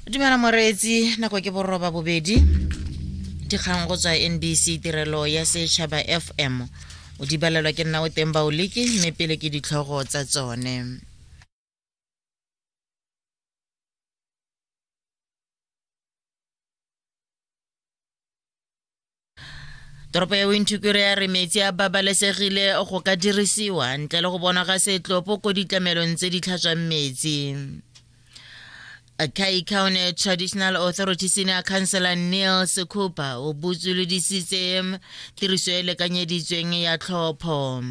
Dumela moreetsi, nako ke boroba bobedi. Dikgang go tswa NBC tirelo ya setšhaba FM. O di balelwa ke nna o teng baoliki mme pele ke ditlhogo tsa tsone. Toropo ya Windhoek ya re metsi a babalesegile go ka dirisiwa ntle le go bonwa ga setlopo ko ditlamelong tse di tlhatswang metsi. Kai County Traditional Authority Senior Councillor Neil Sekhupa o botsolodisitse tiriso e lekanyeditsweng ya tlhopho.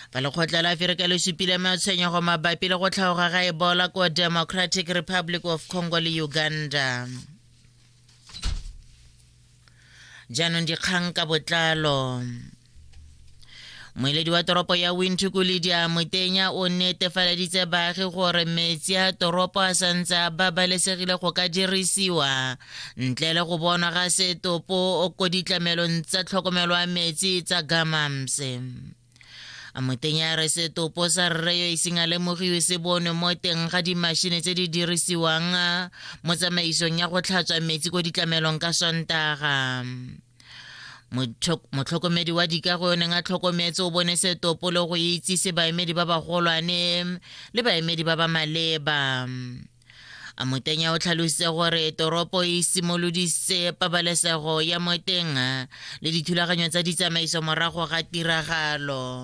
Ba lekgotla la Aferika le supile matshwenyego mabapi le go tlhaoga ga Ebola ko Democratic Republic of Congo le Uganda. Jaanong dikgang ka botlalo. Moeledi wa toropo ya Windhoek Lydia Motenya o netefaleditse baagi gore metsi a toropo a santse a babalesegile go ka dirisiwa ntle le go bonwa ga setopo ko ditlamelong tsa tlhokomelo ya metsi tsa Gamamse. Motenya a re setopo sa rre yo iseng a lemogiwe se bonwe mo teng ga dimashine tse di dirisiwang mo tsamaisong ya go tlhatswa metsi ko ditlamelong ka Sontaga. Motlhokomedi wa dikago yo neng a tlhokometse o bone setopo le go itsise baemedi ba bagolwane le baemedi ba ba maleba. Motenya o tlhalositse gore toropo e simolodisitse pabalesego ya mo teng le dithulaganyo tsa ditsamaiso morago ga tiragalo.